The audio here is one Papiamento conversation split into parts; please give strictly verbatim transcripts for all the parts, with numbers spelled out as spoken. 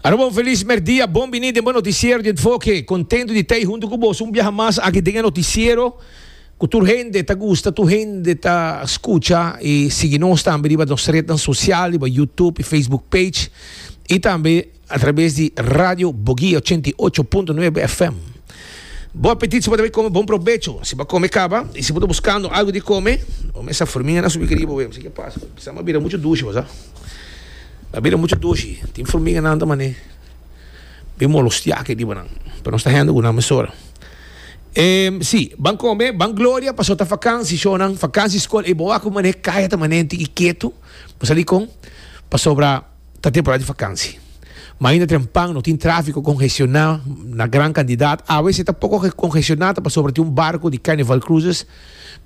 Aruba, un feliz merdia, bon bini den noticiero di Enfoke. Contento di ta hunto cu bo un biaha mas aki den noticiero. Cu tur hende ta gusta, tur hende ta scucha y sigui nos tambe riba nos red social, riba YouTube y Facebook page y tambe a traves di Radio Boguia ochenta y ocho punto nuebe F M. Bon apetit, si bo ta come, bon probecho. Si bo a come caba y si bo ta buscando algo di come, e formiga a subi ariba, no sa kico a pasa. Ta bira mucho dushi, sabi? A bira mucho dushi. Tin formiga nan mané. Bin molestia aki riba nan. Pero nos ta hendo cu nan mesora. Eh, si, ban come, ban Gloria, paso ta vakantie, shonan, vakantie school, e boa ko mané kaya ta mané tiki quieto. Paso con, pasobra ta temporada di vakantie. Ma ainda trempan no tin trafico congestiona na gran cantidad. Awe ta poco congestiona pasobra tin un barco di Carnival Cruises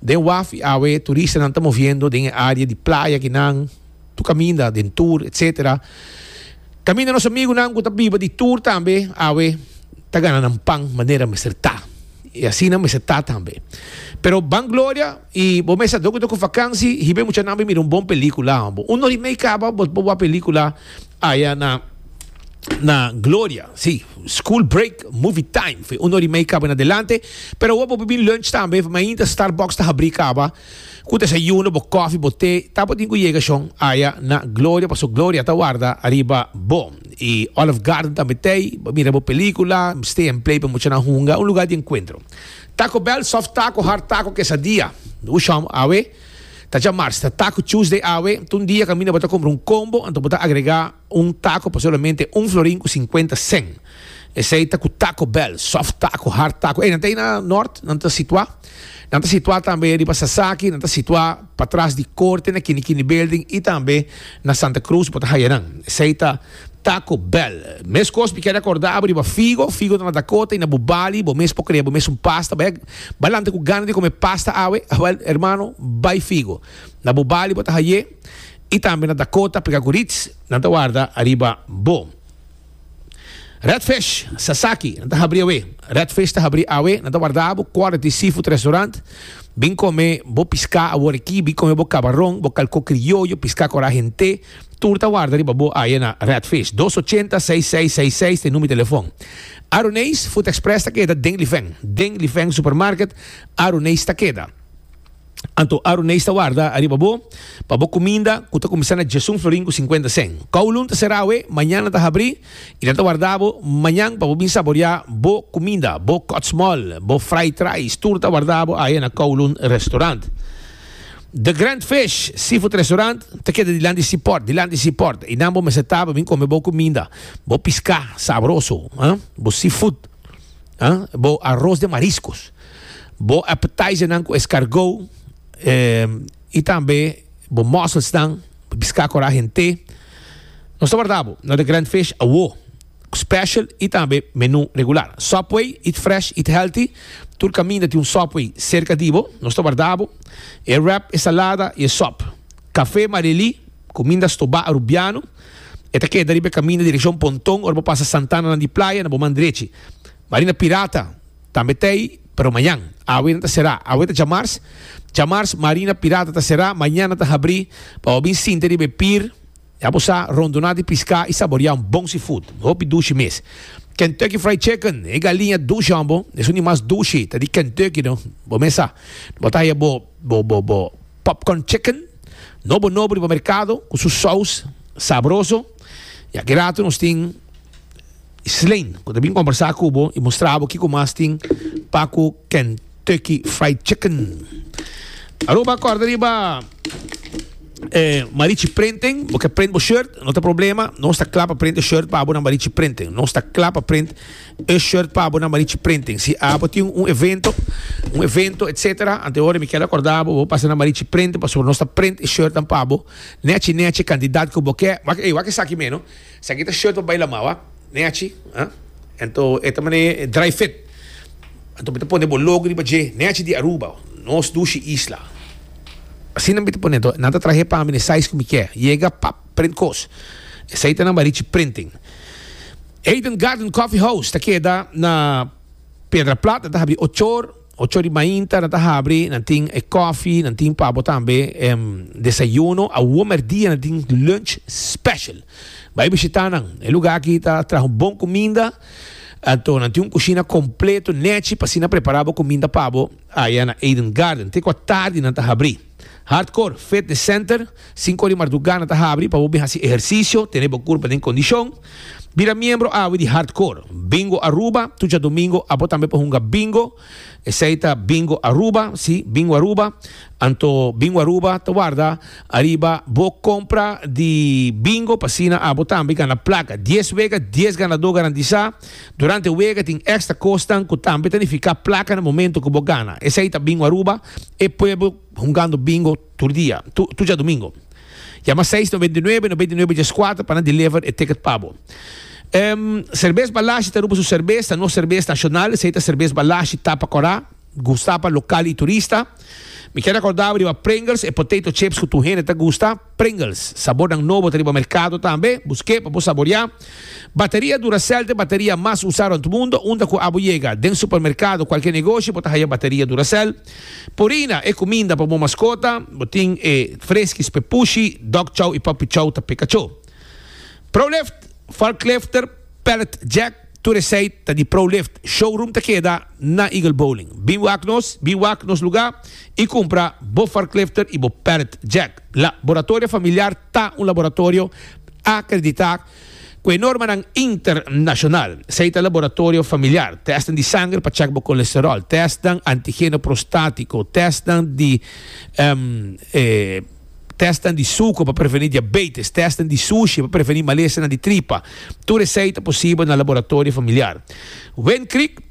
den waf, awe turistanan ta moviendo den area di Playa akinan, tur caminda, den tour, et cetera. Caminda nos amigonan cu ta biba di tour tambe, awe ta gana nan pan manera mester ta. Y asina mester ta tambe. Pero ban Gloria y bo mesa doko doko vakantie, hiba muchanan mira un bon pelicula. Un ora y mey caba, bo bo pelicula aya na na Gloria. Si, school break, movie time. Foi un ora y mey caba en adelante. Pero bo por bin lunch tambe, ma ainda Starbucks ta habri caba. Cu desayuno, bo coffee, bo te, ta bo tin cu yega shon aya na Gloria, paso Gloria ta warda ariba bo. Y Olive Garden tambe tin, mira bo pelicula, stay and play pa muchanan hunga, un lugar di encuentro. Taco Bell, soft taco, hard taco, quesadilla. Usham awe. Ta diamars, ta Taco Tuesday awe. Un dia caminda bo ta cumpra un combo, anto bo ta agrega un taco pa solamente un florin cu cincuenta cent. Esey ta cu Taco Bell, soft taco, hard taco. E nan tin na Noord, nan ta situa. Nan ta situa tambe riba Sasaki, nan ta situa patras di Corte na Kini Kini Building y tambe na Santa Cruz, bo ta haya nan. Esey ta Taco Bell. Mescos, mi kier recorda riba Figo, Figo na Dakota y na Bubali, bo mes por crea, bo mes un pasta, bay balante cu gana di come pasta awe, well, hermano, bay Figo. Na Bubali bo ta haye y tambe na Dakota, pega cu Ritz, nan ta warda ariba bo. Redfish, Sasaki, nan ta habri awe. Redfish ta habri awe, nan ta warda bo, Quality Seafood Restaurant. Bin come bo pisca awor aki, bin come bo cabaron, bo calco criollo, pisca cora hente. Tur ta warda riba bo aya na Redfish. dos ocho zero, seis seis seis seis ta number di telefon. Aroneis Food Express ta keda den Lifeng. Den Lifeng Supermarket, Aroneis ta keda. Anto Aroneis ta warda ariba bo, pa bo cuminda, cu ta cuminsa na diesun florin cu cincuenta cent. Kowloon ta sera awe, mañan ta habri, y nan ta warda bo mañan pa bo bin saborea bo cuminda, bo cut small, bo fried rice, tur ta warda bo aya na Kowloon Restaurant. The Grand Fish Seafood Restaurant ta keda dilanti Seaport, dilanti Seaport. Y nan bo mester ta bin come bo cuminda, bo pisca sabroso, hein? Bo seafood, hein? Bo arroz de mariscos, bo appetizer nan cu escargot, eh, y tambe bo mussels nan, pisca cora hente. Nos ta warda bo na The Grand Fish awo. Special y tambe menu regular. Subway, eat fresh, eat healthy. Tur caminda tin un Subway cerca di bo. Nos ta warda bo. E wrap, e salada y e sop. Café Marili, cuminda stoba arubiano. E ta keda riba caminda direccion Ponton, ora pasa Santana di Playa, na bo man drechi. Marina Pirata, tambe tin, pero mañan. Awe ta sera, awe ta diamars. Diamars Marina Pirata ta sera, mañan ta habri, pa bin sinta riba pier. Ya bo sa, rondona di pisca y saborea un bon seafood. Hopi dushi mes. Kentucky Fried Chicken, e galiña dushi ambo, esun di mas dushi, ta di Kentucky no. Bo mesa. Bo ta haya bo bo bo bo popcorn chicken, nobo nobo di mercado, cu su saus sabroso. Y aki rato nos tin Slane, cu ta bin combersa cu bo y mustra bo kico mas tin pa cu Kentucky Fried Chicken. Aruba, corda riba eh, Marichi Printing, bo kier print bo shirt, no tin problema, nos ta cla pa print e shirt pa bo na Marichi Printing. Nos ta cla pa print e shirt pa bo na Marichi Printing. Si abo tin un evento, un evento, et cetera. Anto ora mi kier recorda bo, pasa na Marichi Printing, pasobra nos ta print e shirt pa bo. Nechi nechi cantidad cu bo kier. Wak, ey, wak esaki meno. Esaki ta shirt pa bay lama, wak. Nechi, ah? Anto, e tambe dry fit. Anto, bo ta pone bo logo riba dje, nechi di Aruba, nos dushi isla. Asina mi ta pone, nan ta traha pa mi size cu mi kier. Yega pap, print cos. Esey ta na Marichi Printing. Eden Garden Coffee House ta keda na Piedra Plat, ta habri ocho or. Ocho di mainta nan ta habri, nan tin e coffee, nan tin pa bo tambe um, desayuno. Awo merdia nan tin lunch special. Bai bishita nan. E lugar aki ta traha un bon cuminda. Anto, nan tin un cushina completo, nechi, pa asina prepara bo cuminda pa bo aya na Eden Garden. Te cu atardi nan ta habri. Hardcore Fitness Center, cinco di marduga nan ta habri pa bo haci ehercicio, tene bo curpa den condicion. Bira miembro awe di Hardcore. Bingo Aruba, tur diadomingo, abo tambe por hunga bingo. Esey ta Bingo Aruba, si, Bingo Aruba. Anto Bingo Aruba ta warda ariba bo compra di bingo pa asina abo tambe gana placa. dies wega, dies ganado garantisa. Durante wega tin extra cosnan cu tambe ta significa placa na momento cu bo gana. Esey ta Bingo Aruba e pueblo hungando bingo tur dia, tur diadomingo. Yama seis nove nuebe, nove nuebe cuater pa deliver e ticket pa bo. Um, Cerbes Balashi ta Aruba su cerbes, nos cerbes nacional, esey ta Cerbes Balashi Tapa Cora, gusta pa local y turista. Mi kier recorda riba Pringles e potato chips cu tur hende ta gusta. Pringles, sabor nobo riba mercado tambe. Busca pa saborea. Bateria Duracell, e bateria mas usa na mundo, unda cu abo yega. Den supermercado, cualkier negoshi, bo ta haya bateria Duracell. Purina e cuminda pa bo mascota, bo tin e Friskies pa pushi, Dog Chow y Puppy Chow ta pa cacho. ProLift, Forklifter, Pallet Jack, tur esey ta di ProLift. Showroom ta keda na Eagle Bowling. Bin wak nos, bin wak nos lugar y cumpra bo forklifter y bo pallet jack. Laboratorio Familiar ta un laboratorio acredita cu norma internacional. Esey ta Laboratorio Familiar. Test di sanger pa check bo colesterol, test antigeno prostatico, test di um, eh, test di suco pa preveni diabetes, test di sushi pa preveni malesa di tripa. Tur esey ta posibel na Laboratorio Familiar. Wind Creek,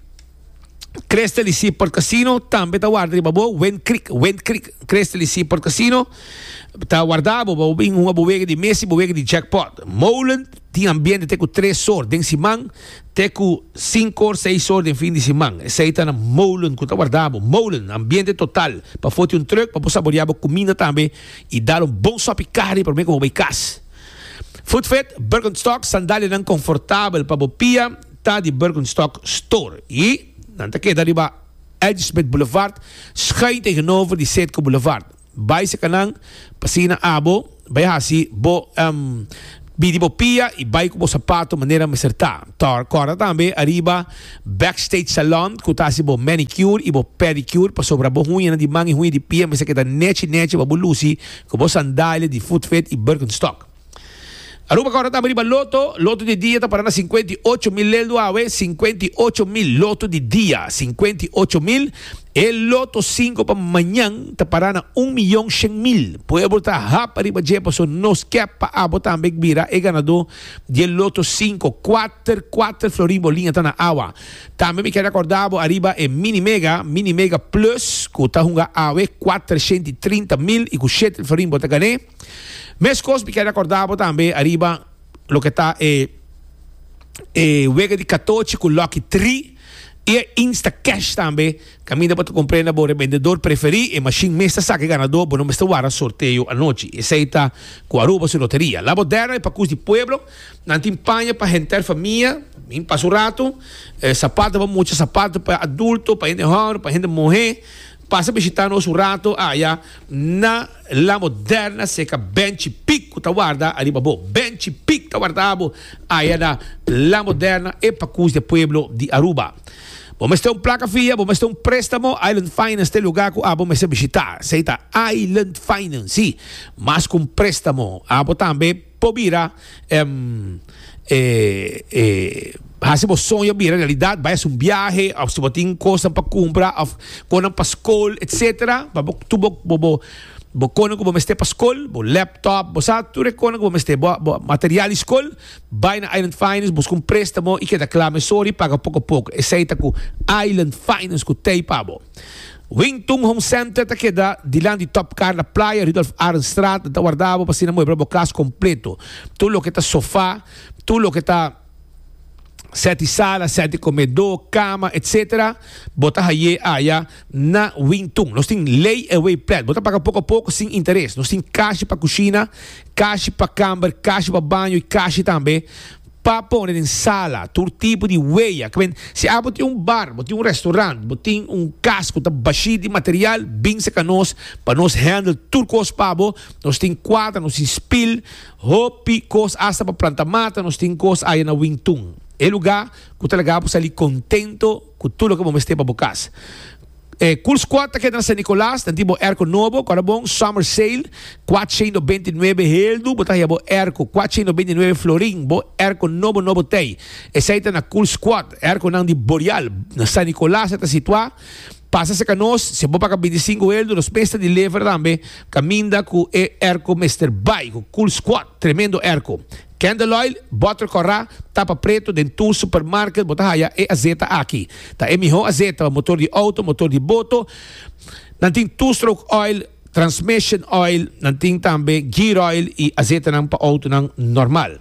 Crystal y Seaport Casino tambe ta warda riba bo. Wind Creek, Wind Creek, Crystal y Seaport Casino ta warda bo bo bin hunga bo wega di mesa, bo wega di jackpot. Molen tin ambiente te cu tres or den siman, te cu cinco or, seis or den fin di siman. Esey ta na Molen cu ta warda bo. Molen, ambiente total. Pafo tin un truck pa saborea cuminda tambe y dal un bon sopi carne pa mi cu bay cas. Footfit, Birkenstock, sandalianan comfortabel pa bo pia, ta di Birkenstock Store. Y nan ta keda riba Edgesmith Boulevard, schuin tegenover di Citgo Boulevard. Bay serca nan, pa asina abo, bay haci bo um, bidi bo pia y bay cu bo sapato manera mester ta. Tor, corda tambe ariba Backstage Salon, cu ta haci bo manicure y bo pedicure, pasobra bo huña di man y huña di pia, mester keda nechi nechi, bo luci, cu bo sandalia di Footfit y Birkenstock. Aruba, awor tambe riba Lotto, Lotto di dia ta para na cincuenta y ocho mil leldo awe, cincuenta y ocho mil, Lotto di dia, cincuenta y ocho mil. E Lotto cinco pa mañan ta para na un miyon cien mil. Pueblo ta hap ariba dje, paso nos kier pa abo tambe bira e ganado di Lotto cinco, cuater, cuater florin boliña ta na awa. Tambe mi kier recorda ariba e Mini Mega, Mini Mega Plus, cu ta hunga awe cuatershen trinta mil y cu shete florin bo ta gana. Mescos mi kier recorda tambe ariba loke ta e e wega di catochi cu Lucky tres y Insta Cash tambe. Caminda pa cumpra na bo rebendedor preferi e machine mes ta saca ganado, bo no mester warda sorteo anochi. Esey ta cu Aruba su loteria. La Moderna e pacus di pueblo, nan tin paña pa henter famia, bin pasa un rato, eh, sapato pa mucha, sapato pa adulto, pa hende homber, pa hende muhe. Pasa bishita nos un rato aya na La Moderna, serca Benchi Pico ta warda ariba bo. Benchi Pico ta warda bo aya na La Moderna e pacus di pueblo di Aruba. Bo mester un placa fia, bo mester un prestamo, Island Finance ta e lugar cu abo mester bishita. Esey ta Island Finance, si. Mas cu un prestamo, abo tambe por bira um, eh, eh, haci bo soño bira realidad, bay un viahe, of si bo tin cos pa cumpra, of cos pa scol, et cetera. Pa bo tur bo bo bo bo cos cu bo mester pa scol, bo laptop, bo sa tur cos cu bo mester, bo, bo material di scol, bay na Island Finance, busca un prestamo y keda cla mesora, paga poco poco. Esey ta cu Island Finance cu t'ey pa bo. Wingtung Home Center ta keda dilanti Top Car na Playa, Rudolf Arendstraat, ta warda bo pa asina muebla bo cas completo. Tur loke ta sofa, tur loke ta set di sala, set di comedor, cama, et cetera. Bo ta haye aya na Wingtung. Nos tin layaway plan. Bo ta paga poco poco sin interes. Nos tin cashi pa cushina, cashi pa camber, cashi pa baño y cashi tambe Pa pone den sala, tur tipo di wea. Ke men, si abo tin un bar, bo tin un restaurant, bo tin un kas ku ta bashí di material, bin serka nos pa nos handle tur kos pa bo. Nos tin kuadra, nos tin spil, hopi kos, asta pa planta mata, nos tin kos aya na Wing Tun. E lugá ku ta laga bo sali kontento ku tur loke bo mester pa bo kas. E Cool Squad ta keda na San Nicolas, nan tin bo airco nobo, kora bon, summer sale, kuatshen beinti nuebe heldu, bo ta haya bo airco, kuatshen beinti nuebe florin, bo airco nobo nobo tei. Esei ta na Cool Squad, airconan di Boreal, na San Nicolas e ta situá. Pasa serka nos, si bo paga binti sinku heldu, nos mes ta deliver tambe, kaminda ku e airco mester bai, ku Cool Squad, tremendo airco. Candle oil, boter kòrá, tapa preto, den tur supermarket bo ta haya e azeta aki. Ta e mihó azeta pa motor di auto, motor di boto. Nan tin two stroke oil, transmission oil, nan tin tambe gear oil y azetanan pa autonan normal.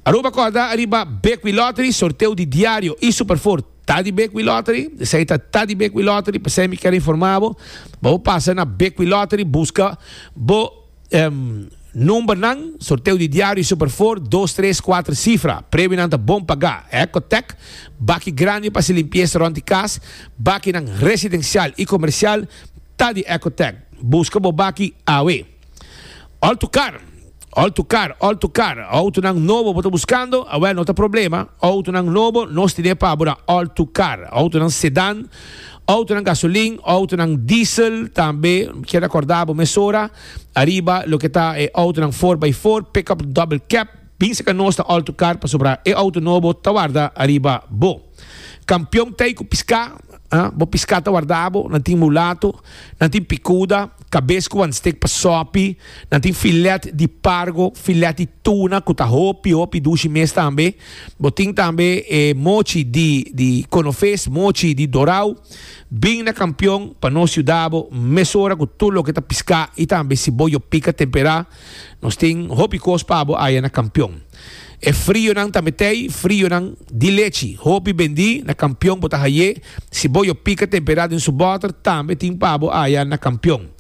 Aruba kòrda ariba Big Wheel Lottery, sorteo di diario y Super Four ta di Big Wheel Lottery. Esei ta ta di Big Wheel Lottery, p'esei mi kier informa bo. Bo pasa na Big Wheel Lottery, buska bo um, numbernan, sorteo di diario y Super Four, dos, tres, kuater sifra. Premionan ta bon pagá. Ecotec, baki grandi pa hasi limpiesa rònt di kas, bakinan residensial i komersial ta di Ecotec. Buska bo baki awe. All to Car, All to Car, All to Car. Outonan nobo bo ta buskando? Awel, no ta problema. Outonan nobo nos tine pa bo na All to Car. Outonan sedan, Autonan gasolin, autonan diesel, tambe kier acorda bo mesora ariba loke ta e autonan four by four, pickup double cab, bin seca nos ta Alto Car pasobra e auto nobo ta warda ariba bo. Campeon tey cu pisca, ah, bo pisca ta warda bo, nan tin mulato, nan tin picuda, cabes cu wan stick pa sopi, nan tin filet di pargo, filet di tuna cu ta hopi hopi dushi mes tambe. Bo tin tambe e mochi di di konofes, mochi di dorau. Bin na Kampion pa nos yuda bo mesora ku tur loke ta piská i tambe si bo yo pika temperá. Nos tin hopi kos pa bo aya na Kampion. E frionan tambe t'ei, frionan di lechi. Hopi bendí na Kampion bo ta haye. Si bo yo pika temperá den su bòter tambe tin pa bo aya na Kampion.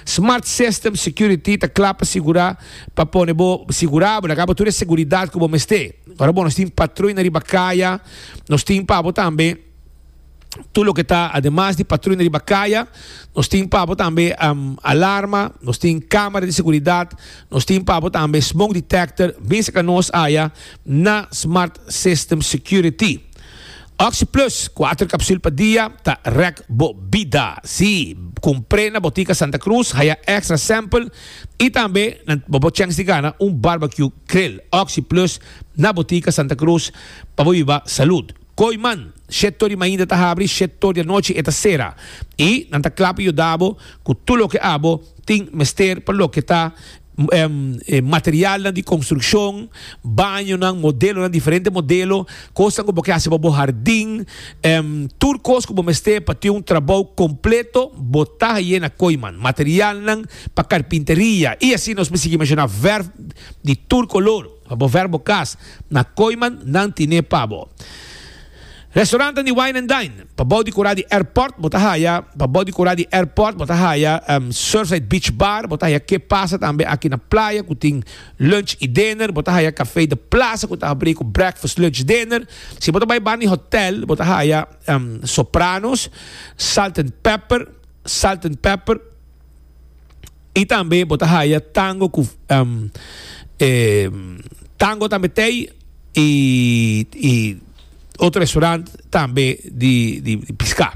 Smart System Security ta kla pa sigurá pa pone bo sigurá bo, laga bo tur e seguridat ku bo mester. Ora bo nos tin patruina riba kaya, nos tin pa bo tambe tur loke ta ademas di patruina riba kaya, nos tin pa bo tambe alarma, nos tin kamera di seguridat, nos tin pa bo tambe smoke detector. Bin saka nos aya na Smart System Security. Oxi Plus, kuater kapsul pa dia ta rèk bo bida. Sí, kumpr'é na Botica Santa Cruz, haya extra sample i tambe nan bo por chèns di gana un barbecue grill. Oxi Plus na Botica Santa Cruz pa bo biba salud. Kooiman, shete tor di mainta ta habri, shete tor di anochi e ta sera. I nan ta kla pa yuda bo ku tur loke abo tin mester pa loke ta materialnan di konstrukshon, bañonan, modelonan, diferente modelo, kosnan ku bo ke hasi pa bo hardin, tur kos ku bo mester pa tin un trabou kompleto, bo ta haye na Kooiman. Materialnan pa karpinteria i asina nos por sigui menshoná vèrf di tur kolor pa bo vèrf bo kas, na Kooiman nan tine pa bo. Restaurantnan di Wine and Dine, pa bou di kura di airport bo ta haya, pa bou di kura di airport bo ta haya Surfside Beach Bar, bo ta haya Ke Pasa tambe aki na playa ku tin lunch i dinner, bo ta haya Café de Plaza ku ta habri ku breakfast, lunch, dinner. Si bo ta bai banda di hotel bo ta haya Sopranos, Salt and Pepper, Salt and Pepper, i tambe bo ta haya Tango ku Tango tambe t'ei i i. Otro restaurant tambe di di piská.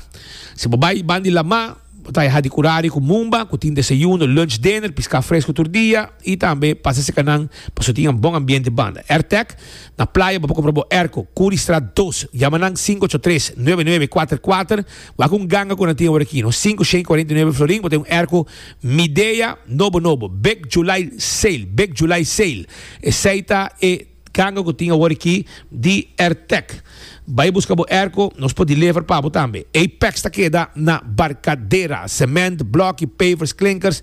Si bo bai ban di lamá, bo ta haña Hadikurari ku Mumba ku tin desayuno, lunch, dinner, piská fresku tur dia i tambe pasa serka nan pasobra tin un bon ambiente banda. Airtec, na playa bo por kumpra bo airco, Curiestraat dos. Yama nan sinku ocho tres, nuebe nuebe kuater kuater. Wak un ganga ku nan tin awor aki, no? Sinku shen kuarenta i nuebe florin bo tin un airco Midea nobo nobo. Big July Sale, Big July Sale. Esei ta e. Kanga ku tin awor aki di Airtec. Bai buska bo airco, nos por deliver pa bo tambe. Apex ta keda na Barcadera. Cement, bloki, pavers, klinkers,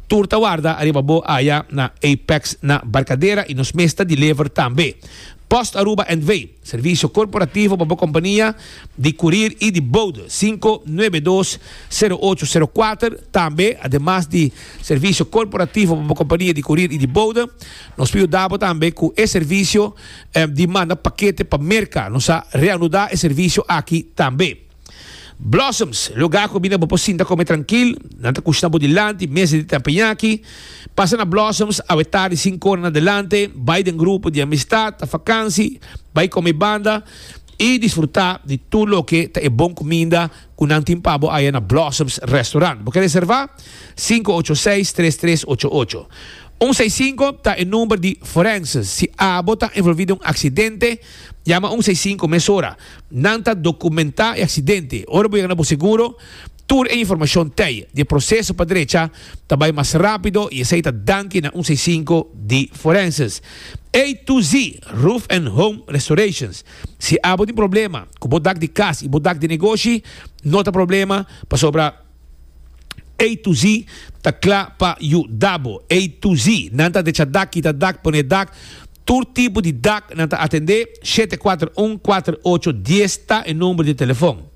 tur ta warda ariba bo aya na Apex na Barcadera y nos mes ta deliver tambe. Post Aruba N V, servicio corporativo pa compania di courier y di bode, cinco nuebe dos, cero ocho cero cuater. Tambe, ademas di servicio corporativo pa compania di courier y di bode, nos por yuda tambe cu e servicio eh, di manda pakete pa Merca. Nos a reanuda e servicio aki tambe. Blossoms, lugar cu bo por sinta come trankil, nan ta cushina bo dilanti, mesa di teppanyaki. Pasa na Blossoms, awe tardi cinco or na adelante, bay den grupo di amistad, ta vakantie, bay come banda y disfruta di tur loke ta e bon cuminda cu nan tin pa bo ey na Blossoms Restaurant. Bo kier reserva? cinco ocho seis, tres tres ocho ocho. un seis cinco ta e number di forenses. Si abo ta envolvi den un accidente, yama un seis cinco mesora. Nan ta documenta e accidente. Ora bo yega na seguro, tur e informacion t'ey. E proceso pa drecha ta bay mas rapido y esey ta danki na un seis cinco di forenses. A to Z, Roof and Home Restorations. Si abo tin problema cu bo dak di cas y bo dak di negoshi, no ta problema, pasobra A to Z ta cla pa yuda bo. A to Z. Nan ta drecha dak, kita dak, pone dak. Tur tipo di dak nan ta atende. shete cuater un, cuater ocho dies ta e number di telefon.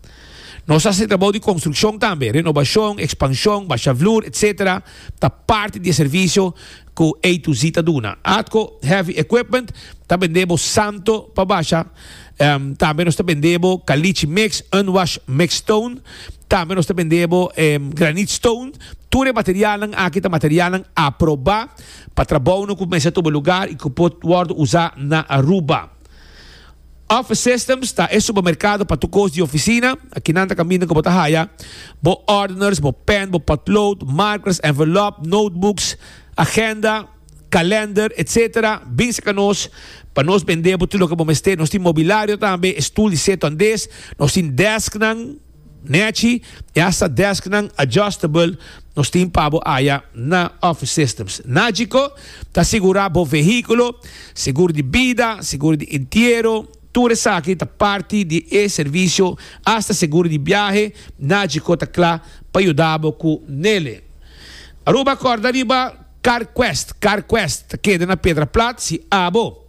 Nos ta haci trabou di construccion tambe, renovacion, expansion, basha vloer, et cetera. Ta parti di servicio cu A to Z ta duna. Atco Heavy Equipment, ta bende santo pa basha. Um, tambe nos ta bende caliche mix, unwash mix stone. Tambe nos ta bende um, granite stone. Tur e material aki ta material aproba pa trabou cu cuminsa tuma lugar y cu por usa na Aruba. Office Systems ta e supermercado pa tur cos di oficina. Aki nan ta caminda cu bo ta haya bo ordners, bo pen, bo potlood, markers, envelope, notebooks, agenda, calendar, et cetera. Bin serca nos pa nos bende tur loke bo mester. Nos tin mobiliario tambe, stoel di seto andes, nos tin desk nan nechi, y hasta desk nan adjustable nos tin pa bo aya na Office Systems. Nagico ta sigura bo vehiculo, seguro di bida, seguro di entiero, tur esaki ta parti di e servicio, hasta seguro di biahe, Nagico ta cla pa yuda cu ne. Aruba, corda riba Car Quest, Car Quest, keda na Piedra Plat. Si abo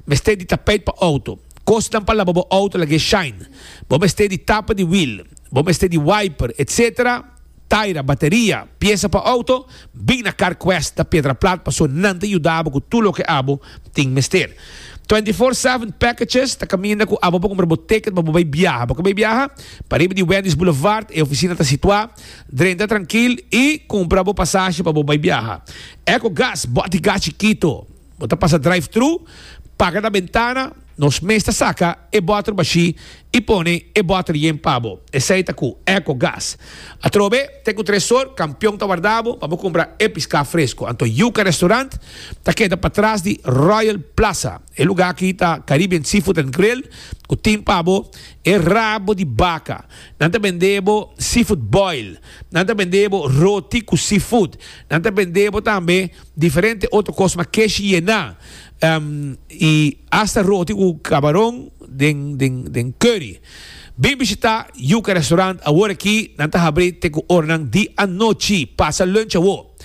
mester di tapijt pa auto, cosnan pa laba bo auto lag'e shine, bo mester di tapa di wheel, bo mester di wiper, et cetera. Taira, bateria, pieza pa auto, bin na Car Quest da Piedra Plat, paso nan ta yuda bo cu tur loke abo tin mester. twenty-four seven Packages, ta caminda cu abo pa cumpra bo ticket pa bay biaha. Pa bay biaha, pariba di Wendy's Boulevard, e oficina ta situa, drenta trankil y cumpra bo pasashi pa bay biaha. Eco Gas, bote gas chikito, bo ta pasa drive-thru, paga na bentana, nos mes ta saca e boter bashi y pone e boter yen pa bo. Esey ta cu Eco Gas. Atrobe, te cu tres or, Campeon ta warda bo, pa cumpra e pisca fresco. Anto Yuca Restaurant, ta keda patras di Royal Plaza. E lugar aki ta Caribbean Seafood and Grill, cu tin pa bo e rabo di baca. Nan ta bende bo seafood boil. Nan ta bende bo roti cu seafood. Nan ta bende bo tambe diferente otro cos, ma keshi yena. Um, y hasta roti cu camaron den, den, den curry. Bin bishita Yuca Restaurant awor aki, nan ta habri te cu oranan di anochi. Pasa lunch awo.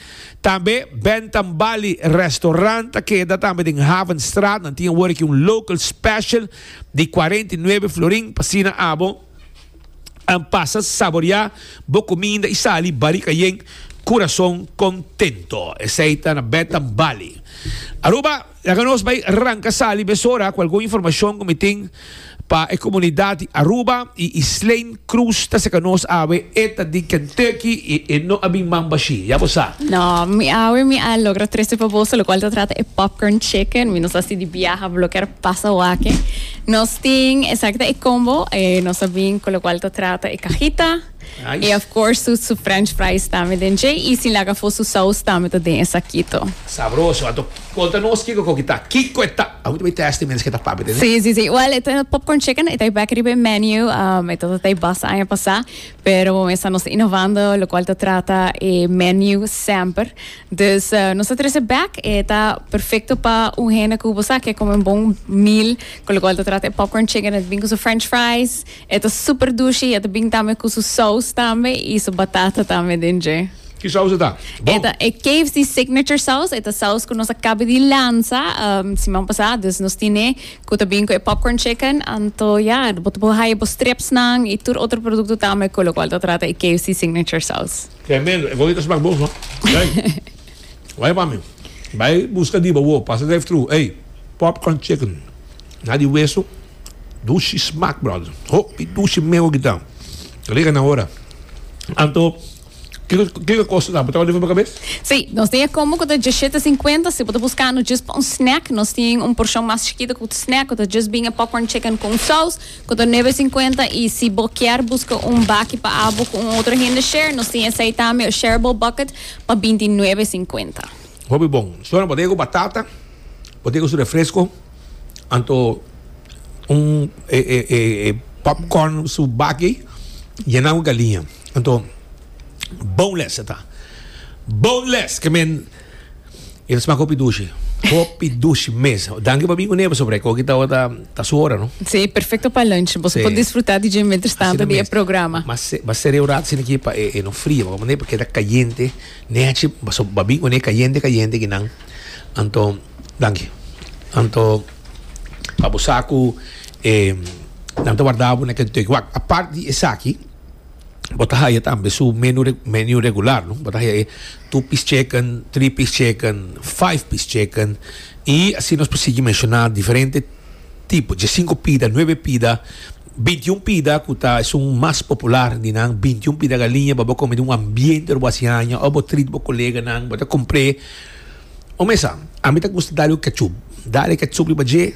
Tambe Bentambali Restaurant keda tambe den Havenstraat. Nan tin awor aki un local special di cuarenta y nuebe florin pa asina abo um, pasa saborea bo cuminda y sali barica yen, curason contento. Esey ta na Bentambali. Aruba, laga nos bay ranca sali mesora cu algun informacion cu mi tin pa e comunidad di Aruba y Islaine Cruz ta serca nos awe, e ta di Kentucky y e no a bin man bashi. Ya bo sa. No, mi awe mi a logra trece pa boso locual ta trata e popcorn chicken. Mi no sa si di biaha bo kier pasa wak e. Nos tin exacto e combo, eh, nos a bin cu locual ta trata e cajita. Nice. Y of course su, su french fries tambe den dje y sin laga afo su sauce tambe ta den e sakito. Sabroso. Anto conta nos kico cu ta. Kico ta. Ah, moet test mensen cu ta papia. Si, si, si. Well, e popcorn chicken, e ta back riba menu, um, e ta basta aña pasa, pero estamos innovando, locual ta trata e menu semper. Dus uh, nos a trece back, ta perfecto pa un hende cu bo kier come un bon meal, cu locual ta trata popcorn chicken, e ta bin cu su french fries, ta super dushi, e ta bin tambe cu su sauce tambe y su batata tambe den dje. Ki saus ta? E ta e K F C Signature Sauce, e ta saus ku nos a kaba di lansa um, siman pasá, dus nos tin ku ta bin ku e popcorn chicken, anto ja, bo por haya bo strips nan i tur otro produkto tambe ku lokual ta trata e K F C Signature Sauce. Tremendo. E ta smaak bon, no? Hey. Bai pa mi. Bai buska di bo, pasa drive-thru. Hey, popcorn chicken. Na di wesu. Dushi smaak, brother. Hopi dushi meo kita. Liga na ora. Anto, kiko kiko kosta ta? Bo ta pa kabes? Si, nos tin combo ku ta diesshete sinkuenta, si bo ta buskando just pa un snack, nos tin un porshon mas chikitu ku snack, ku ta just bin popcorn chicken ku saus, ku ta nuebe sinkuenta, i si bo ke buska un baki pa abo ku un otro hende share, nos tin esei tambe, un shareable bucket pa bintinuebe sinkuenta. Hopi bon. Sona bo ku batata, bo ku su refresko, anto un e, e, e, e popcorn su baki, yená ku galiña. Anto, boneless ta. Boneless, ke men e smaak hopi dushi. Hopi dushi mes. Danki pa bin kuné sobre ku ta ta ta su ora, no? Si, perfekto pa lunch. Bo Si. Por disfrutá di mientras tanto di programa. Mas mas seria un rato aki pa e, e no fria, ma pasobra ta kayente, nechi, so bo bin kuné kayente kayente ku nan. Anto, danki. Anto, pa bo sa ku eh nan ta warda bo na Kentucky. Wak, aparte di esaki, bo ta haya tambe su menu menu regular, no? Bo ta haya two piece chicken, three piece chicken, five piece chicken i asina nos por menshoná diferente tipo, di sinku pida, nuebe pida, bintiun pida, ku ta esun mas popular di nan, bintiun pida galiña, pa bo kome den un ambiente bo aña, òf bo treat bo koleganan, bo ta kumpra. O mesa, ami ta gusta dal ketchup. Dal ketchup riba dje,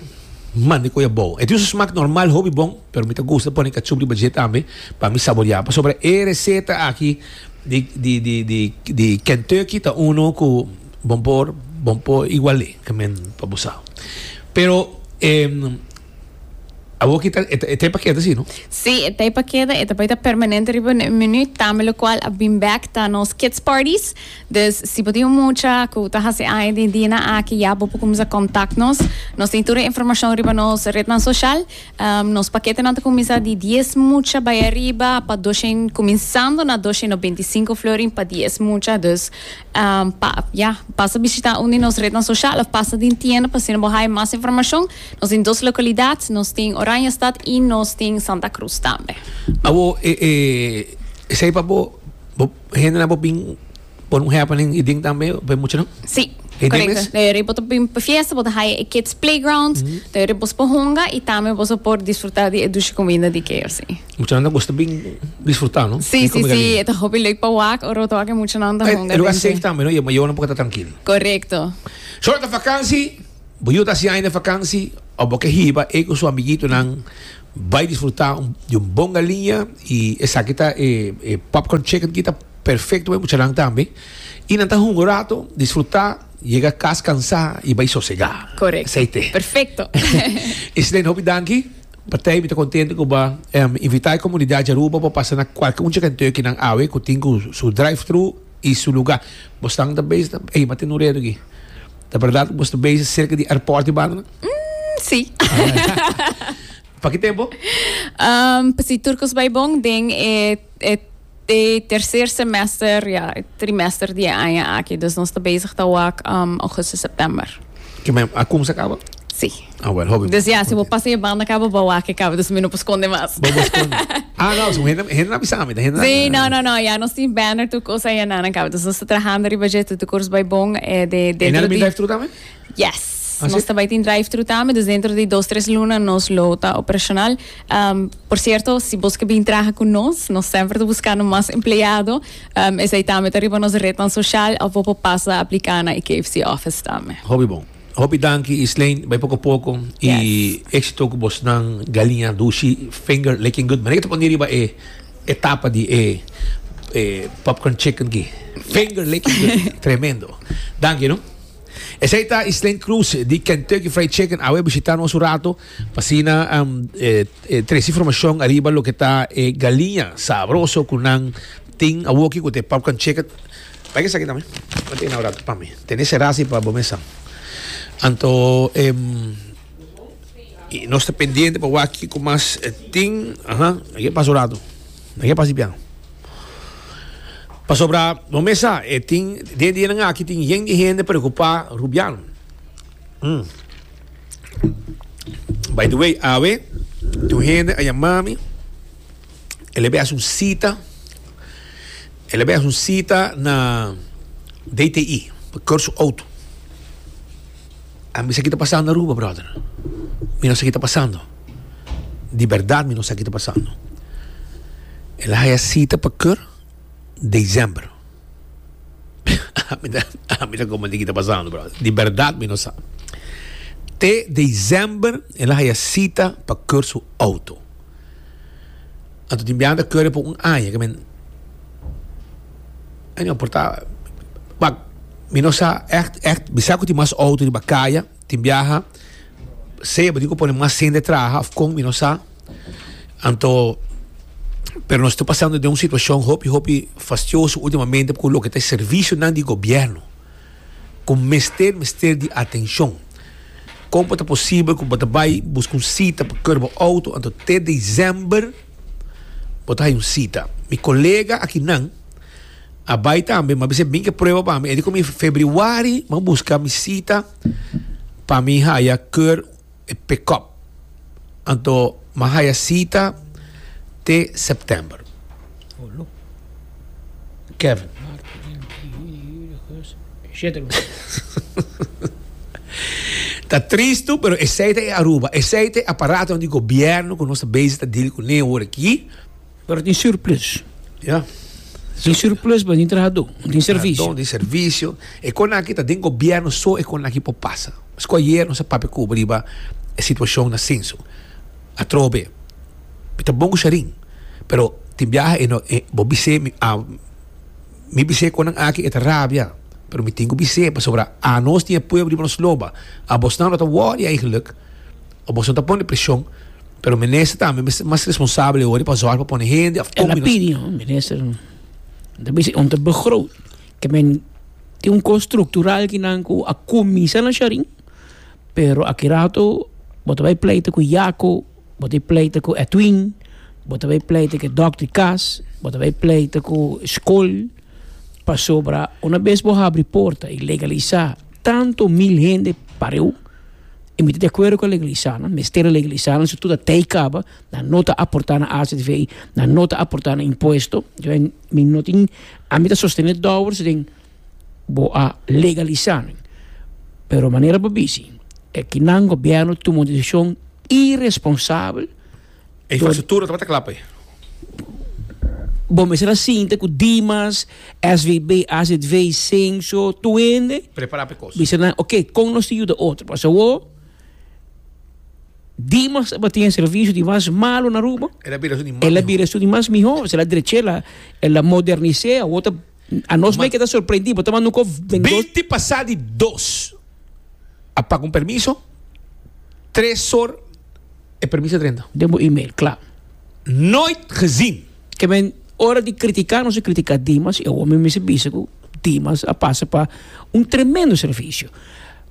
manda kos bon. E tin un smaak normal, hopi bon, pero mi ta gusta pone ketchup riba dje tambe, pa mi saboreá. Sobre e reseta aki di di di di di Kentucky ta uno ku bon por bon por igual'é, ke men pa bo sa. Pero eh, awor ku ta e pa keda asina, no? Si, e pa keda, e ta permanente riba e menu, tambe lokual a bin back ta nos kids parties. Dus si bo tin un mucha ku ta hasi aña den dia aki, ya bo por kuminsá kontaktá nos. Nos tin tur informashon riba nos ret sosial. Um, nos paketenan ta kuminsá di dies mucha bai ariba pa doshen, kuminsando na doshen nobenta i sinku florin pa dies mucha. Dus um, pa, ja, pasa bishitá un di nos ret sosial òf pasa den tienda pa asina bo mas informashon. Nos tin dos lokalidat, nos tin Oranjestad i nos tin Santa Cruz tambe. Awo e e esei pa bo bo hende na bo bin pone un happening i ding tambe pa mucha, no? Si. E Korekto. Demes? E bo ta bin pa fiesta, bo ta haya e kids playground, mm -hmm. bo por hunga i tambe bo por disfrutá di dushi kuminda di K F C. Mucha nan gusta bin disfrutá, no? Si, Bin si, kome si. galiña. Ta hopi leuk pa wak, ora to ku mucha nan ta hunga. E lugá den safe tambe, no? I mayornan por ta trankil. Korekto. Short vakantie, bo yu ta hasi aña vakantie, òf bo ke hiba e ku su amiguitonan bai disfrutá un, di un bon galiña i esaki ta e, e popcorn chicken ku ta perfekto pa muchanan tambe. I nan ta hunga un ratu, disfrutá, yega kas kansá i bai sosegá. Korekto. Esei ta. Perfekto. Islene, hopi danki. Partij, mi ta kontentu ku bo a um, invitá e komunidat di Aruba pa pasa na kualke un Kentucky nan awe ku tin ku su drive-thru i su lugá. Bo ta bezig, ei, ma tin un redo aki. Ta berdat, bo ta bezig serka di airport di banda? Si. Pa ki tempu? Um, si tur kos bai bon, den e, e, e tercer semester, ja, trimester di aña aki. Dus nos ta bezig ta wak um, augustus, september. Ke men a kuminsá kaba? Si. Ah, well, hopi. Dus ja, si bo pasa e banda kaba, bo wak kaba, dus mi no por skonde mas. Bo bo skonde. Ah, no, so hende hende no bisa mi, hende Si, no, no, no, ja, nos tin banner tur kos ei na kaba. Dus nos ta trahando riba dje, tur kos bai bon, eh, de E dentro nan di drive-thru tambe? Yes. Ah, Nos si? tambe tin drive-thru tambe, dus dentro di dos, tres luna nos lo ta operashonal. Um, por sierto, si bo ke bin traha ku nos, nos semper ta buskando mas empleado. Um, esei tambe ta riba nos ret sosial, òf bo por pasa apliká na K F C office tambe. Hopi bon. Hopi danki, Islene, bai poko poko i éksito ku bosnan galiña dushi finger licking good. Ma ta pone riba e etapa di e e popcorn chicken ki. Finger licking good. Tremendo. Danki, no? Esei ta Islene Cruz di Kentucky Fried Chicken. Awe bishitá nos un ratu. Pa asina um, eh, eh, tres informashon ariba loke ta eh, galiña sabroso ku nan tin awoki ku e popcorn chicken. Bai esaki tambe. Tin un ratu pa mi. Tene serasi pa bo mesa. Anto em, i nos ta pendiente pa wak ku mas eh, tin, aha, aki pasa un ratu. Aki pasa piano. Pasobra, no mesa, e tin den dianan aki tin yen di hende preocupa Rubiano. Mm. By the way, awe, tur hende a yama mi, el a haci un cita, el a haci un cita na D T I, pa keur auto. Ami sa kico ta pasando na Aruba, brother. Mi no sa kico ta pasando. Di berdad, mi no sa kico ta pasando. El a haya cita pa keur december. Mi ta con kico ta pasando, brother. Di berdad, mi no sa. Te december, el a haya cita pa keur su auto. Anto tin biaha keur pa un aña, cu men Ay, no porta. Maar, mi no sa echt, echt, mi sa cu tin mas auto riba caya, tin biaha, sea, bo tin cu pone mas hende traha, of con, mi no sa. Anto, pero nos ta pasando den un situacion hopi, hopi fastioso ultimamente, cu loke ta servicio di gobierno. Cu mester, mester di atencion. Con ta posibel cu bo ta bay busca un cita pa keur bo auto, anto te december, bo ta un cita. Mi colega aki nan, a bay tambe, m'a bisa bin cu prueba pa mi. E di cu mi februari, m'a busca mi cita pa mi haya keur e pick-up. Anto, m'a haya cita te september. Kevin. Shit. Ta tristo, pero esey ta Aruba. Esey ta aparato di gobierno cu nos ta bezig ta deal cu ne awor aki. Pero tin surplus. Ja. Tin surplus, mas tin trahador. Tin servicio. Trahador di servicio. E cos aki ta den gobierno so e cos aki por pasa. Mas ayera nos a papia cu riba e situacion na Censo. Atrobe. Ta bon cu Sharin. Pero tin biaha e no e bo bis'e mi a mi bis'e cos aki e ta rabia. Pero mi tin cu bis'e pasobra anos tin pueblo di nos loba. Abosnan no ta worry eigenlijk. Abosnan ta pone presion. Pero minister tambe mas responsabel hoor pa zorg pa pone hende of El a pidi, minister. Dat is om te begroot. Cu men tin un cos structural cu nan cu a cuminsa na Sharin, pero aki rato bo ta bay pleita cu Jaco, bo ta bay pleita cu Edwin, bo ta bay pleita cu Doctor Cas, bo ta bay pleita cu scol, pasobra un bes bo habri porta y legalisa tanto mil hende pareu, y mi ta di acuerdo cu legalisa, no? Mester legalisa, no? Si tur ta caba, nan no ta aporta na A Z V, nan no ta aporta na impuesto, yo mi no tin, ami ta sostene Dowers den bo a legalisa. Pero manera bo bisa, e cu nan gobierno tuma un decision irresponsabel. E infrastructura tabata cla pa. Bom, mas era assim, cu Dimas, S V B, A Z V, Censo, tur hende. Prepara pa cos. Bisa nan, ok, con nos yuda otro. Mas o Dimas tin servicio di mas malo na Aruba. El a bira di El a bira di mas miho, el a drecha, el a modernisa, otro anos mes a keda sorprendi, bo ta nunca binti pasa di dos. A paga un permiso. Tres or e permiso a drenta. Den bo e-mail, claro. Nooit gezien. Cu men ora di critica, no ta critica Dimas, e homber mi bisa cu Dimas a pasa pa un tremendo servicio.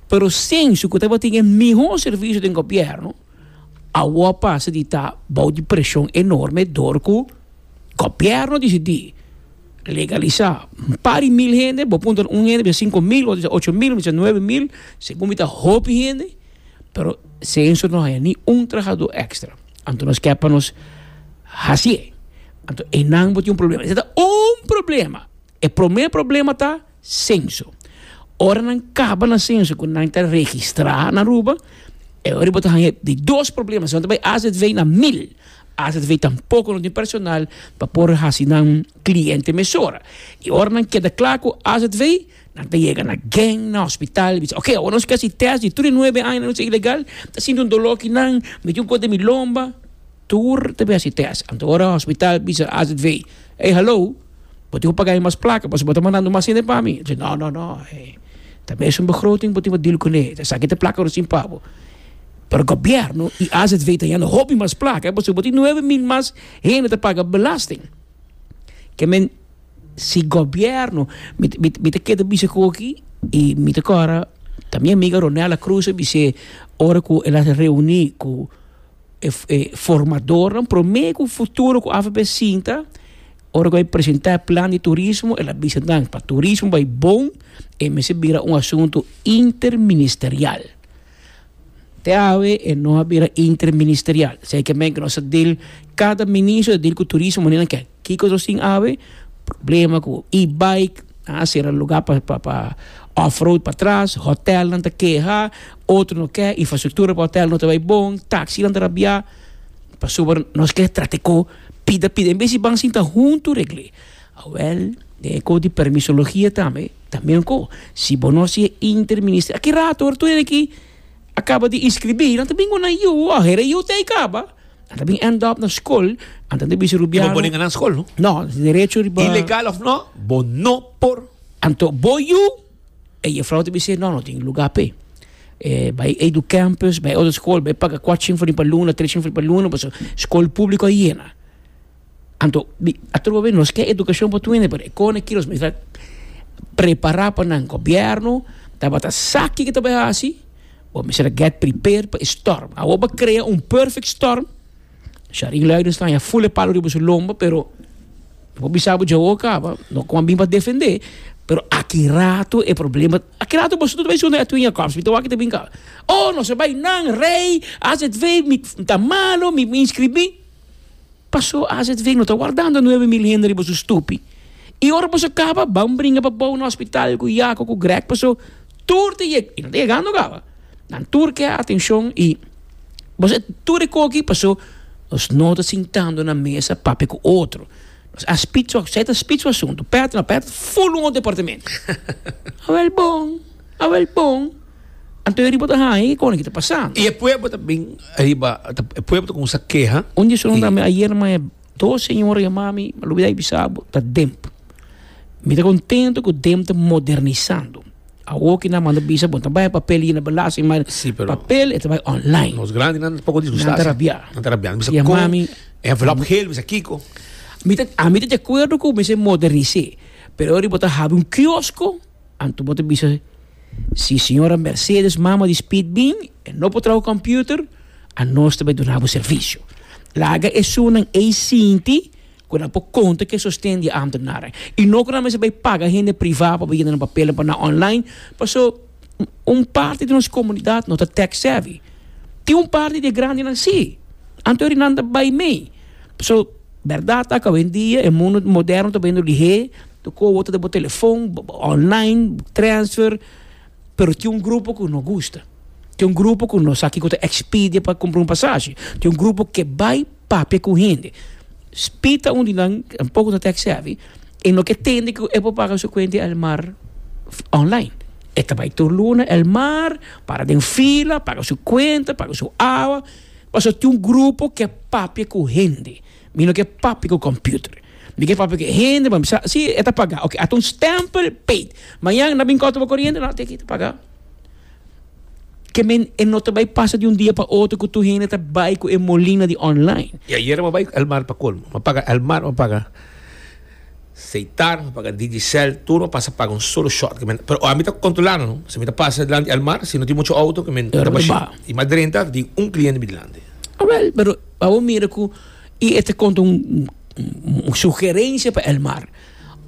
Pero Censo, cu tin e miho servicio di gobierno, a pasa di ta bou di presion enorme door cu gobierno a dicidi legalisa un par di mil hende, bo punto un hende, cinco mil, ocho mil, nuebe mil, segun mi ta hopi hende, pero Censo no tin ni un trahador extra. Anto nos kier pa nos haci. Anto, e nan tin un problema. Esey ta un problema. E prome problema ta Censo. Ora nan caba na Censo, cu nan ta registra na Aruba, e ora bo tin di dos problema. Anto bay A Z V na mil. A Z V tampoco no tin personal pa por haci nan cliente mesora. Y ora nan keda cla cu A Z V, nan ta yega na gang, na hospital, bisa, ok, awor nos kier test di trinta i nuebe aña, no ta ilegal, ta sinti un dolor aki nan, mi un cos di mi lomba, tur ta bay haci test. Anto ora hospital bisa A Z V, "Hey, hallo, bo tin cu paga mas placa, bo ta mandando mas hende pa mi." Dice, no, no, no, hey, tambe ta un begroting, bo tin cu deal cu ne, sabi ta placa sin pago. Pero gobierno y A Z V ta hayando hopi mas placa, bo tin nuebe mil mas hende ta paga belasting. Cu men si gobierno mi mi mi ta keda bisa aki y mi ta corda tambe amiga Ronela Cruz bisa ora cu el a reuni cu e, e formador prome cu futuro cu A V P sinta. Ora ku presentá plan di turismo, el a bisa nan pa turismo bai bon e mester bira un asuntu interministerial. Te awe e no a bira interministerial. Sei ke men ku nos deal, kada ministro deal ku turismo manera ke kiko nos tin awe problema ku e-bike, a sera lugá pa pa pa off-road patras, hotel nan ta keha, otro no ke, infrastruktura pa hotel no ta bai bon, taxi nan ta rabia, pasobra nos ke trata ku pida pida, en bes di ban sinta huntu regl'é. Awel, den e di permisologia tambe, tambe ko, si bo no hasi interminister, aki rato, ora tur aki a kaba di inskribí, nan ta bin ku nan yu, a hera yu te kaba, nan ta bin end up na skol, anto nan ta bisa Bo rubiano. Bo na skol, no? No, derecho riba. Ilegal òf no, bo no por. Anto bo yu, e juffrouw ta bisa, no, no tin lugá p'e. Eh, bai Edu Campus, bai otro skol, bai paga kuater florin pa luna, tres florin pa luna, pasobra skol públiko a yena. Anto, bi, atrobe nos ke edukashon pa tur hende, pero e kos aki nos mester prepará pa nan gobièrnu, tabata sa kiko ta bai hasi, bo mester get prepared pa storm. Awor bo a krea un perfect storm. Sharin Luidenstein a ful e palu riba su lomba, pero bo bisa bo djawo kaba, no kon bin pa defendé, pero aki rato e problema, aki rato bo tur bai sunda Edwin Jacobs, mi ta wak ta bin ka. Oh, no se bai nan rei, A Z V mi ta malo, mi mi inskribí. Paso A Z V no ta wardando nuebe mil hende riba su stupi. I ora bo kaba, ban bringa pa bou na hospital ku Jaco ku Greg, paso tur ta yeg, i no ta yegando kaba. Nan tur ke atenshon i bo tur e koki paso nos no ta sintando na mesa papia ku otro. Nos a spits, esei ta spits e asuntu. Pet, no pet, full un departamento. Awel bon, awel bon. Anto riba ta hai, kon ki ta pasando? I e pueblo tambe, riba, e pueblo kuminsá keha. Un dia sono dame ayer ma dos señora yama mi, lubidá bisa bo, ta D E M P. Mi ta kontentu ku D E M P ta modernisando. Awor ku nan manda bisa, bo ta bai papel i na belasting, ma Sí, pero papel e ta bai online. Nos grandinan poko disgustá. Nan ta rabia. Nan ta rabia. Bisa E kon mami- envelop geel, bisa kiko. Mi ta, ami ta di akuerdo ku mester modernisá. Pero ora bo ta habri un kiosko, anto bo ta bisa si señora Mercedes, mama di Speed bin, e no por traha computer, anos ta bai duna bo servisio. Laga esunnan ei sinti ku nan por konta ku sosten di ambtenaren. I no ku nan mester bai paga hende privá pa yena nan papel pa na online, paso un parti di nos komunidat no ta tech savvy. Tin un parti di grandinan sí. Anto nan ta bai mei. So, bèrdat ta ku awendia e mundu moderno ta bayendo lihé, tur kos ta den telefòn, online, transfer, pero tin un grupo ku no gusta. Tin un grupo ku no sa kiko ta Expedia pa kumpra un pasashi. Tin un grupo ku bai papia ku hende. Spita un di nan un poko ta tech savvy e no ke tende ku e por paga su kuenta Elmar online. E ta bai tur luna Elmar, para den fila, paga su kuenta, paga su awa. Paso tin un grupo ku papia ku hende. Mi no ke papia ku computer. Mi ke papia ku hende, ma sa, si, e ta pagá. Ok, ata un stempel paid. Mañan nan bin kòrta koriente, no, tin ku paga. Ke men e no ta bai pasa di un dia pa otro ku tur hende ta bai ku e molina di online. I ayera m'a bai Elmar pa kolmo. M'a paga Elmar, m'a paga Setar, m'a paga Digicel, tur m'a pasa paga un solo shot. Ke men, pero ami ta kontrolando, no? Si mi ta pasa dilanti Elmar, si no tin muchu outo, ke men Pero ta bashi. ba. I m'a drenta, tin un kliente mi dilanti. Ah, wel, pero abo mira ku i e ta konta un, un, un sugerensia pa Elmar.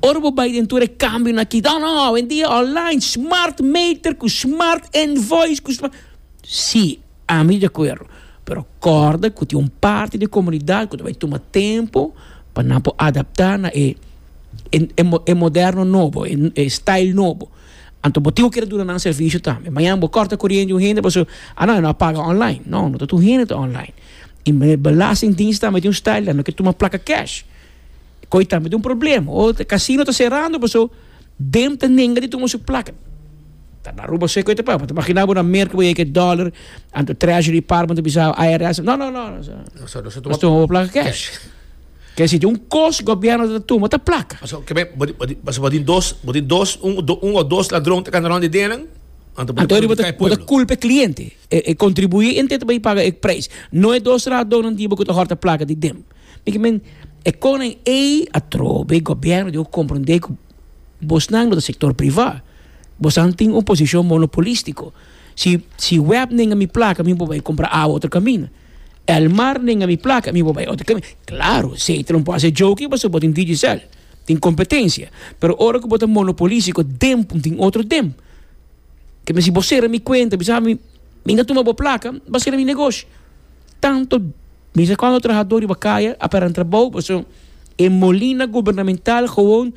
Ora bo bai den tur e kambionan aki, no, no, awendia online, smart meter, ku smart invoice, ku smart. Sí, ami di akuerdo. Pero kòrda ku tin un parti di komunidat ku bai tuma tempu pa nan por adaptá na e e, e, e moderno nobo, e, e style nobo. Anto bo tin ku duna nan servisio tambe. Mañan bo kòrta koriente un hende, paso, ah no, no paga online. No, no tur hende ta online. I belastingdienst tambe tin un style, no ke tuma plaka cash. Koi tambe tin un problema. O kasino ta serando, paso D E M P ta nenga di tuma su plaka. Ta na Aruba sei koi te pa. Ta imaginá bo na Merka bo yega dollar, anto Treasury Department bisa I R S. No, no, no. No, so, no, so Nos tuma plaka cash. Ke si un kos gobièrnu ta tuma ta plaka. So, ke men, bo bo tin dos, bo tin dos, un, do, un o dos ladron ta kana rònt di denen. Anto Anto bo ta bo ta kulpa e kliente. E, e kontribuyente ta bai paga e preis. No e dos ladronnan di bo ku ta hòrta plaka di D E M P. Ke men e konen e atrobe gobièrnu di komprondé ku bosnan do sektor privá. Bosnan tin un posishon monopolístiko. Si si W E B nenga mi plaka, mi por bai kumpra awa otro kaminda. Elmar nenga mi placa, mi por bay otro caminda. Claro, Setar no por haci joke, pasobra bo tin Digicel. Tin competencia. Pero ora cu bo ta monopolistico, D E M tin otro D E M. Kiermen si bo cera mi cuenta, bisa mi, mi no tuma bo placa, bo a cera mi negoshi. Tanto, mi sa cuanto trahador riba caya a perde trabou, pasobra e molina gubernamental gewoon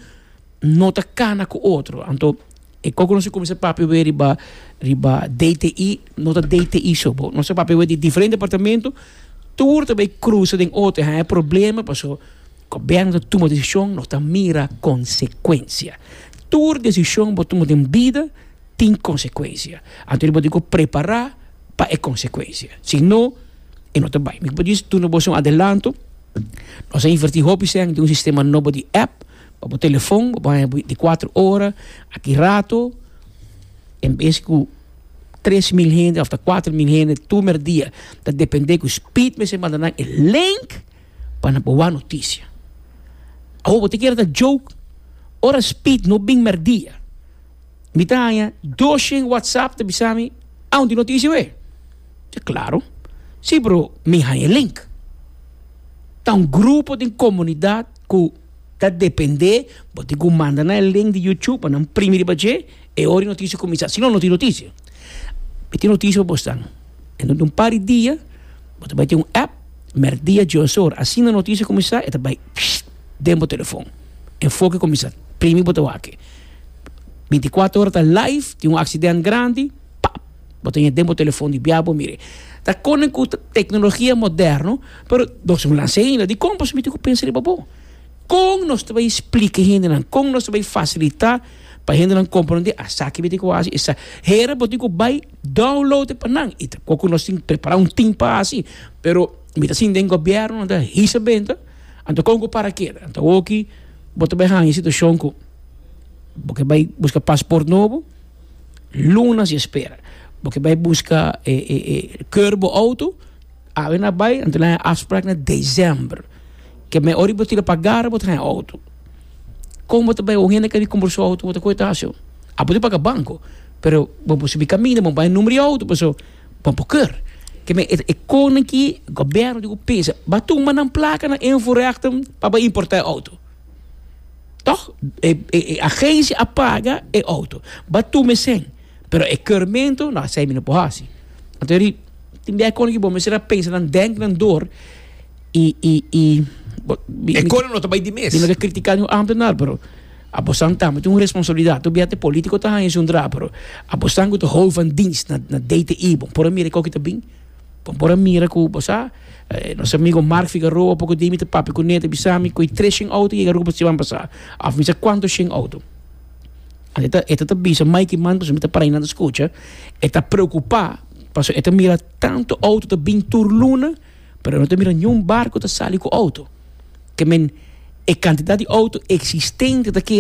no ta cana cu otro. Anto, e como nos cuminsa papia weer riba riba D T I, no ta D T I so, bo. Nos papia weer di diferente departamento, tur tambe cruza den otro, e problema, pasobra gobierno ta tuma decision, no ta mira consecuencia. Tur decision bo tuma den bida tin consecuencia. Anto, bo tin cu prepara pa e consecuencia. Si no, e no ta bay. Mi por duna bo un adelanto. Nos a inverti hopi den un sistema nobo di app, pa e telefon, pa binticuater ora, aki rato, en bes cu tres mil hende, of cuater mil hende, tur dia, ta depende cu speed mester manda nan e link pa nan por noticia. Oh, bo ta kere ta joke, ora speed no bin merdia. Mi ta haya dos WhatsApp ta bisami, ah, un noticia we. Ja, claro. Si, bro, mi haya link. Ta un grupo di comunidad cu ta depende, bo tin cu manda nan e link di YouTube pa nan primi riba dje e ora noticia cuminsa. Si no, no tin noticia. Mi tin noticia pa bo. En un par di dia, bo ta bay tin un app, merdia dies or, asina noticia cuminsa, e ta bay den bo telefon. Enfoke cuminsa, primi bo ta wak e. binticuater ora ta live, tin un accidente grandi, pap, bo tin den bo telefon di biabo, mire. Ta con cu tecnologia moderno, pero nos no lansa ainda, di con mi tin cu pensa riba bo. Con nos ta bay splica hendenan, con nos ta bay facilita pa hendenan comprende esaki mi tin cu haci, esa hera bo tin cu bay download pa nan. Y tampoko nos tin prepara un team pa asina, pero mi ta sinti den gobierno, anto hisa benta, anto con para keda. Anto aki bo ta bay haya situacion cu bo kier bay busca paspoort nobo, luna di espera. Bo kier bay busca eh, eh, eh, keur bo auto, awe nan a bay, anto nan afspraak na december. Kiermen ora bo tira paga, bo tin auto. Con bo bay, hende cu cumpra su auto, bo ta coita so. Ah, bo paga banco, pero bo por subi caminda, bo bay number di auto, paso, bo por keur. Kiermen e e con aki, gobierno di pensa, b'a tuma nan placa na invoerrechten pa importa auto. Toch? E, e, e agencia a paga e auto. B'a tuma cen. Pero e keurmento, nou, esey mi no por haci. Anto, tin biaha con cu bo, mester pensa dan denk dan door e e e E con no ta bay di mes. Mi no kier critica e ambtenaar, pero abo tambe tin un responsabilidad. Tur biaha politico ta haña un dra, pero abo cu ta hoofd van dienst na na D T I, bo por mira cu ta bin. Bo por mira cu bo sa, eh, nos amigo Mark Figueroa, poco di mi ta papia cu ne, bisami cu tres shen auto yega Aruba siman pasa. Of mi sa cuanto shen auto. E ta e ta bisa Mike man, mi ta para na scucha, e ta preocupa, paso e ta mira tanto auto ta bin tur luna, pero no ta mira ningun barco ta sali cu auto. Kiermen e cantidad di auto existente ta